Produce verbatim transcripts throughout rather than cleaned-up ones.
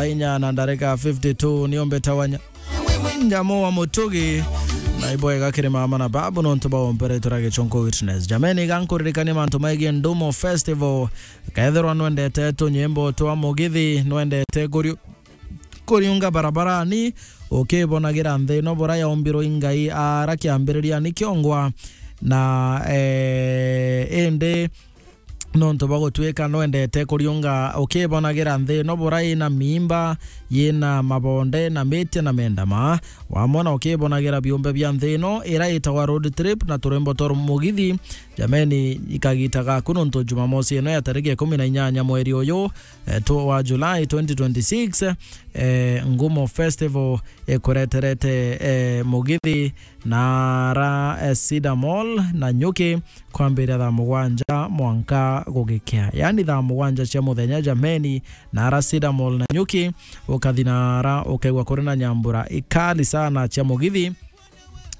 inya na ndarika fifty-two, nio mbetawa nya-, Nyamu wa Mutugi, na ibwega kiri mama na babu nontu bwa umpere tura gichonko witness. Jameni, iga nkuririkania mantu megie Ndumo Festival. Kethirwa nwendete tunyimbo twa mugithi, nwendete kuriu-, kuriunga barabarani, ukibonagira nthi ino bura yaumbirwe i Ngai ara kiambiririani kiongwa, na, eh, indi nontu bwa gutwika nwendete kuriunga ukibonagira nthi ino bura ina miimba, yina mabonde na miti na mendama, wamwe na ukibonagira biumbe bia nthi ino ira itagwa road trip na turwimbo twa mugithi, jameni, ikagita gaku nontu Jumamosi ino ya tariki ikumi na inyanya mweri uyu, eh, tu-, wa July twenty twenty-six, eh, Ngumo Festival ikureterete, eh, mugithi na ara, eh, Cedar Mall na Nyuki kwambiria thaa mugwanja mwanka gugikea. Yaani thaa mugwanja cia muthenya, jameni, na ara Cedar Mall na Nyuki, ukathi na ara ukaigua kuri na nyambura ikali sana cia mugithi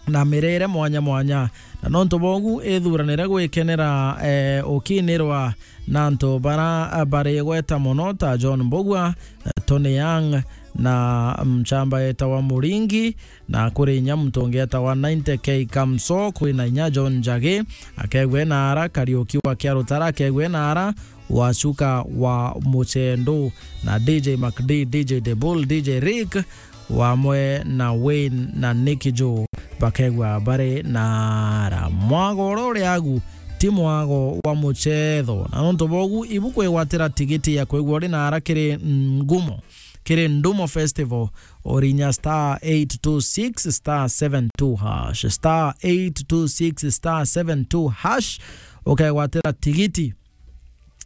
na mirire mwanya mwanya. Na nontu bogu ithuranire gwikenera, eh, ukinirwa na antu bara, eh, bari gweta mono ta John Mbugua, eh, Tony Young na mchamba etawa Muringi, na kuri inya muntu ungi etawa ninety K Kamso, kwi na inya John Njagi, akegwe na ara Kariuki wa Kiarutara, akegwe na ara Wacuka wa Muchendu, na D J Mac D, D J Debul, D J Rick, wamwe na Wayne na Nicky Joe bakegwa bari na ara. Mwago uria uri agu ti mwago wa muchetho, na nontu bogu ibu kwigwatira tigiti ya kwigua uri na ara kiri Ngumo, kiri Ndumo Festival, urinya star eight two six star seven two hash, star eight two six star seven two hash, ukegwatira tigiti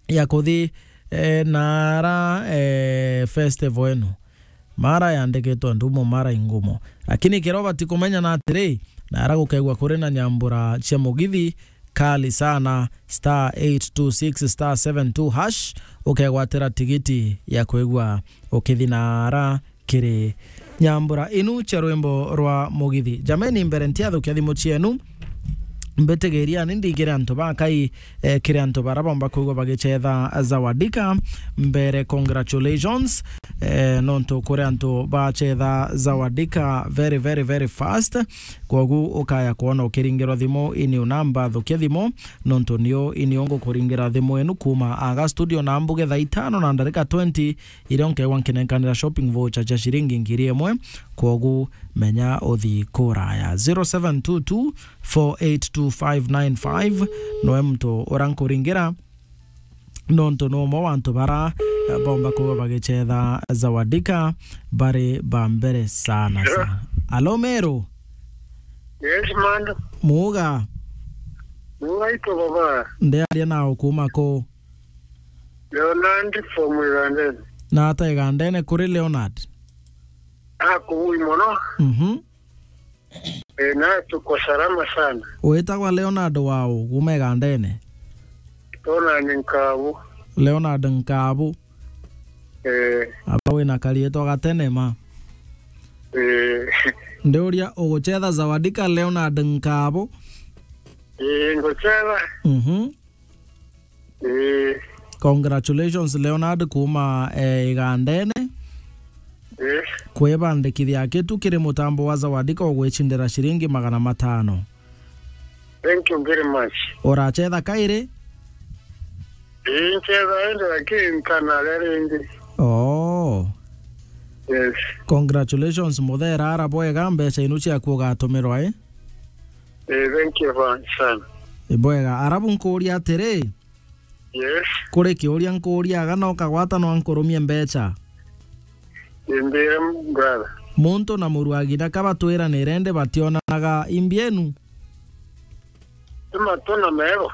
ya kuthi, eh, na ara, eh, festival ino. Mara yandikitwe Ndumo, mara i Ngumo. Lakini kiria ubati kumenya na atiri, na ara gukaigua kuri na nyambura cia mugithi kali sana, star eight two six star seven two hash, ukegwatira tigiti ya kwigua ukithi na ara kiri nyambura inu cia rwimbo rwa mugithi. Jameni, mbere ntiathukia thimu cienu, mbitigiria ni ndigire antu ba Ngai, eh, kiri antu bara bomba kwigua bagichetha Zawadika. Mbere, congratulations, eh, nontu kuri antu bachetha Zawadika very, very, very fast. Kwogu ukaya kwona ukiringirwa thimu, ini unamba thukia thimu, nontu niu ini ungukuringira thimu enu kuma aga studio na mbuge thaa itano na ndarika twenty, iria nkewa nkinenkanira shopping voucher cia ciringi ngiri imwe. Kwogu menya uthi kuraya. Zero seven two two four eight two five nine five noe muntu uria nkuringira, nontu ni umwe wa antu bara, eh, bomba kuba bagichetha Zawadika bari ba mbere sana sana. Alo, Meru? Yes, man. Muga? Muga ito baba. Ndiaria nao kuma ku? Leonard from Igandene. Na ata Igandene kuri Leonard? Ah, kuui mono. Mhm. Eh, na tuko salama sana. Witagwa Leonard wau, kuma Igandene? Leonard Nkabu. Leonard Nkabu. Eh. Aba wina karietwa gatene ma. Eh. Ndiuria uguchetha Zawadika Leonard Nkabu? Eh, nguchetha. Mhm. Ii. Congratulations, Leonard, kuma, eh, Igandene. Ii. Kwibandikithia kitu kiri mutambo wa Zawadika ugwicindira ciringi magana matano. Thank you very much. Urachetha kairi? Ii, nchetha indi lakini ntanaria ringi. Oh. Yes. Congratulations, muthera ara bwega, mbeca inu ciaku ugatumirwa, eh? Eh, thank you, fa-, sana. Ibwega. Arabu nkuuria atiri, yes, kuri kiuria nkuuria aga no kagwata no nkurumie mbeca? Imbire, brother. Muntu na muru wa ng'ina ka batwiranire indi bationanaga imbienu? Ti matu na mego.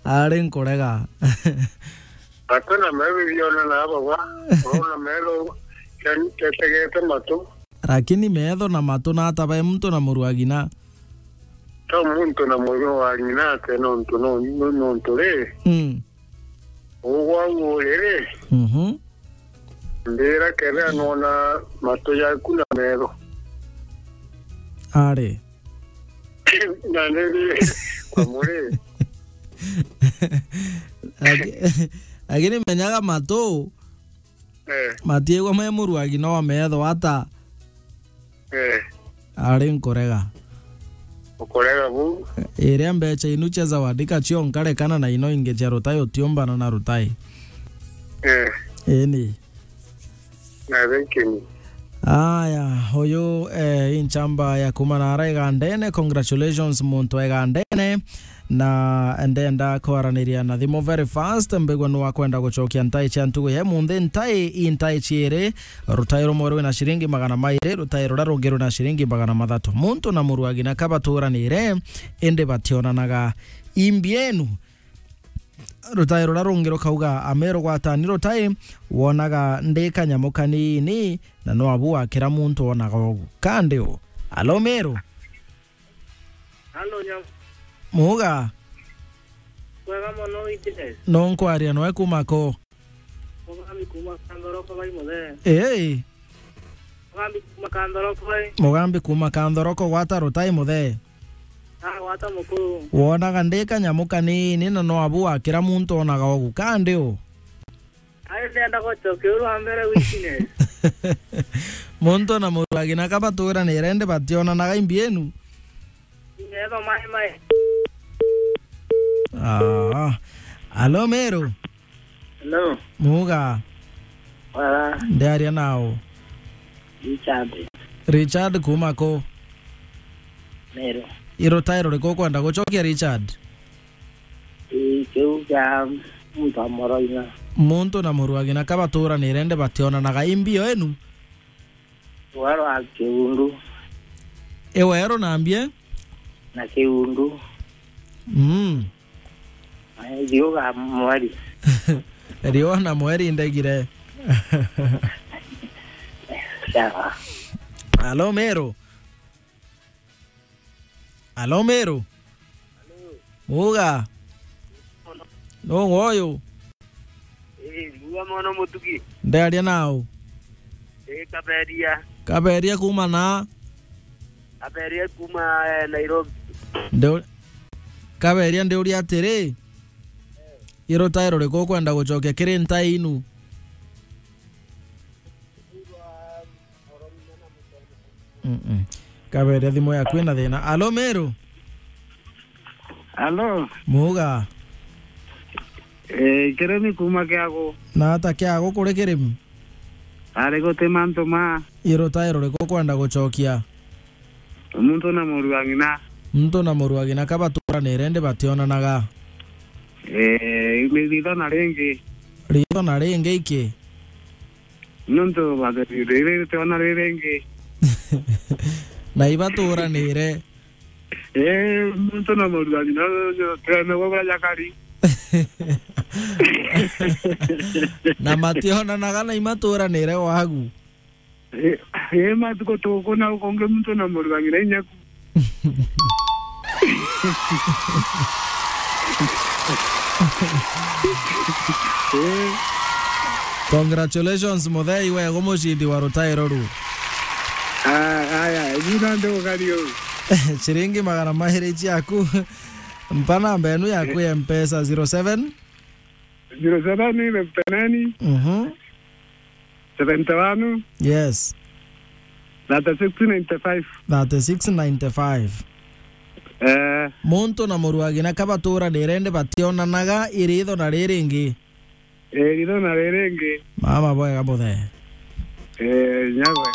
Ari nkurega. Matu na mego bionana bagwa. Urona mego, ken-, ketegete matu. Lakini metho na matu nata bai muntu na muru wa ng'ina? To muntu na muru wa ng'ina ate nontu, no-, no-, nontu ri? Mm. Ugwa ugurire. Mhm. Mbira kethira nona matu jaku na metho. Ari. Na nini kwa muri? Laki-, Lakini menyaga matu, eh, matiigwa me muruagi no metho ata. Eh. Ari nkurega. Ukurega bu? Iria mbecha inu cia zawadi kacio nkarekana na ino ingi cia rutai utiumbana na rutai. Eh. Ini. Na thank you. Aya, uyu, eh, inchamba ya kuma na ara igandene. Congratulations, muntu wa igandene. Na ndenda kwaraniria na thimu very fast, mbigwe nwa kwenda gucokia ntai cia ntugu ya munthi. Ntai, i ntai ciiri, rutai rumwe rwina ciringi magana mairi, rutai ruria rungi rwina ciringi magana mathatu. Muntu na muruagi na kabaturanire, indi bationanaga. Imbi enu, rutai ruria rungi rukauga, Ameru gwatani rutai, wonaga ndi kanyamu kanini, na no abu wakira muntu wonaga ugu. Kandi u? Alo, Meru? Alo, Nyam. Muga? Kwega mono, witire? No nkwaria noe kuma ko? Mugambi kuma Kanthoroko bai muthe. Ii. Mugambi kuma Kanthoroko bai. Mugambi kuma Kanthoroko gwata rutai muthe. Ah, gwata mukuru. Wonaga ndi kanyamu kanini na no abu wakira muntu onaga ugu. Kandi u? Ai, ndenda gucokia uru wa mbere witine. Muntu na muruagi na kabaturanire ndi bationanaga imbi enu. Metho mai mai. Ah. Alo, Meru? Hello. Muga? Wala. Ndiaria nao. Richard. Richard kuma ko? Meru. I rutai ruriku ukwenda gucokia, Richard? Ii, kiu kia muntu wa muruagi na. Muntu na muruagi na kabaturanire ndi bationanaga. Imbi o enu? Waro wa kiundu. Iwe ero nambie? Na kiundu. Mm. Ai, riuga mweri. Riua na mweri ndegire. Sawa. Alo, Meru? Alo, Meru? Muga? No woyo? Ii, riua mono mutugi. Ndiaria nao? Ii, Kaberia. Kaberia kuma na? Kaberia kuma, eh, Nairobi. Ndi-, Kaberia, ndiuria atiri, i rutai ruriku ukwenda gucokia kiri ntai inu? Mm-mm. Kaberia thimu yaku ina thina. Alo, Meru? Alo. Muga? Eh, Kirimi kuma Kiagu. Na ata Kiagu kuri Kirimi? Ari guti mantu ma. I rutai ruriku ukwenda gucokia? Muntu na muruagi na. Muntu na muruagi na kabaturanire ndi bationanaga. Eh, ni ritho na ringi. Ritho na ringi iki? Nontu batheri riri ritiona riri ringi. Na ibaturanire. Eh, muntu na muruagi na twene gwa bura jakari. Na mationanaga na imaturanire wagu. Eh, eh, matuko tuku na ukonge muntu na muruagi na inyaku. Eh. Congratulations, muthei wego mucindi wa rutairo ru. Ah, aya, jina ndo gario. Ciringi magana mairi ciaku. Mpa namba enu yaku ya Mpesa, zero seven? Zero seven, fifty nine, Mhm. seventy one, Yes. thirty six ninety five. Thirty six ninety five. Eh. Muntu na muruagi na kabaturanire ndi bationanaga iritho na riri ringi. Eh, iritho na riri ringi. Mama bwega muthe. Eh, nyagwe.